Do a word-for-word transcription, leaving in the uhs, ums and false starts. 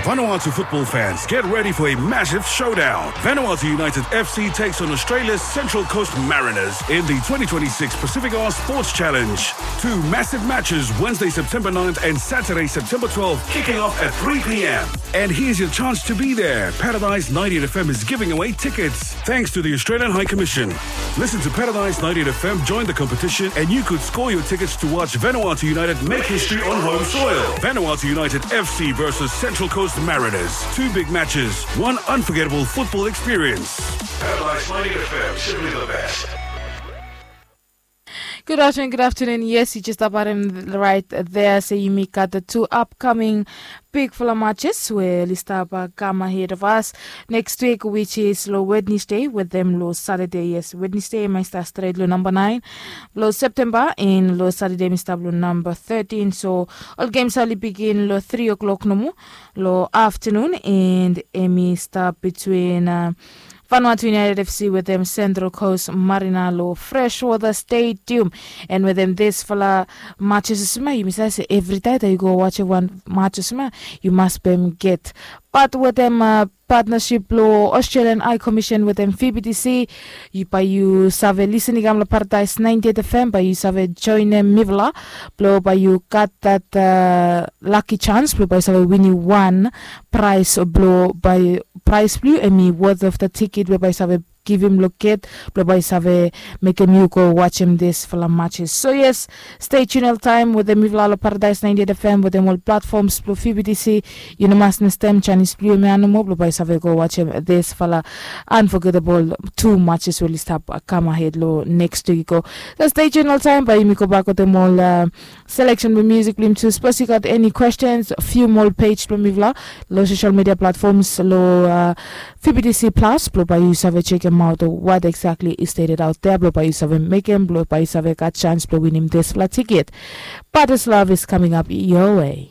Vanuatu football fans, get ready for a massive showdown. Vanuatu United F C takes on Australia's Central Coast Mariners in the twenty twenty-six Pacific Islands Sports Challenge. Two massive matches, Wednesday, September ninth and Saturday, September twelfth, kicking off at three p.m. And here's your chance to be there. Paradise ninety-eight F M is giving away tickets. Thanks to the Australian High Commission. Listen to Paradise ninety-eight F M, join the competition, and you could score your tickets to watch Vanuatu United make history on home soil. Vanuatu United F C versus Central Coast Mariners. Two big matches, one unforgettable football experience. Paradise ninety-eight F M, simply the best. Good afternoon, good afternoon. Yes, you just about him right there. So you make got the two upcoming big full matches where list up uh, come ahead of us next week, which is lo Wednesday with them lo Saturday. Yes, Wednesday, my star straight lo number nine, lo September in lo Saturday, Mister Blue number thirteen. So all games are begin lo three o'clock no more, lo afternoon, and Emmy start between uh, Vanuatu United F C with them Central Coast Marina lo Freshwater Stadium. And with them this fala matches sima, you must say every time that you go watch one match sima, you must be get. But with them uh, partnership lo Australian High Commission with them V B T C, you by you save listening am lo Paradise ninety-eight F M, by you save join them Mivla, blo by you got that uh, lucky chance, blo by you save winning one prize, blo by prize blue, and me worth of the ticket, blo by you save give him look at, blo by you save make him you go watch him this for the matches. So yes, stay tuned all time with the Mivlalo Paradise ninety-eight F M with them all platforms, blo V B T C, you know, mas nestem Chinese blue me animal, blo by you save go watch him this for the unforgettable two matches will stop uh, come ahead lo next week go. So stay tuned all time, by you go back with them all uh, selection with music blim too. Suppose you got any questions, few more page blim Mivla, lo social media platforms, lo uh, V B T C Plus, blo by you save check him out. What exactly is stated out there, blo by you save make him, blo by you save got chance blo win him this flat ticket. But this love is coming up your way.